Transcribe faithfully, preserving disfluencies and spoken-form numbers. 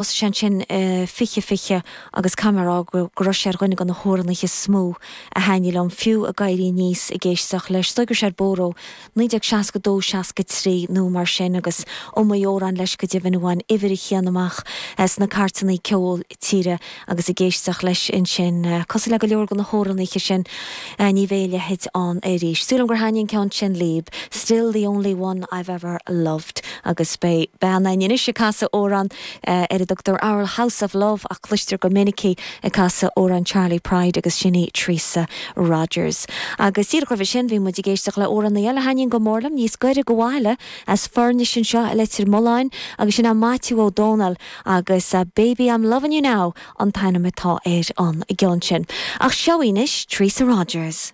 Sin sin fiche fiche agus camerá go raibh sé ar dhuine de na hamhránaithe is mó a thaitnigh liom fiú ag éirí aníos ag éisteacht leis. Is dóigh go raibh sé ar bóthar ó naoi déag seasca dó seasca trí nó mar sin agus iomaí amhrán leis go deimhin a bhain uimhir a haon amach sna cairteanna ceoil tíre agus ag éisteacht leis ansin cosúil le go leor de na hamhránaithe sin ní bheidh a leithéid ann arís. Súil agam gur thaitnigh an ceann sin libh, Still the only one I've ever loved agus beidh bean anois ag casadh amhrán ar a dtugtar Our House of Love ach cloistear go minic í ag casadh amhrán Charley Pride agus sin í Teresa Rogers. Agus díreach roimhe sin bhí muid ag éisteacht le amhránaí eile a thaitníonn go mór liom níos gaire do bhaile as Foirnis anseo i Leitir Mealláin agus sin é Maitiú Ó Dónaill agus uh, Baby I'm Loving You Now an t-ainm atá ar an gceann sin. Ach seo anois Teresa Rogers.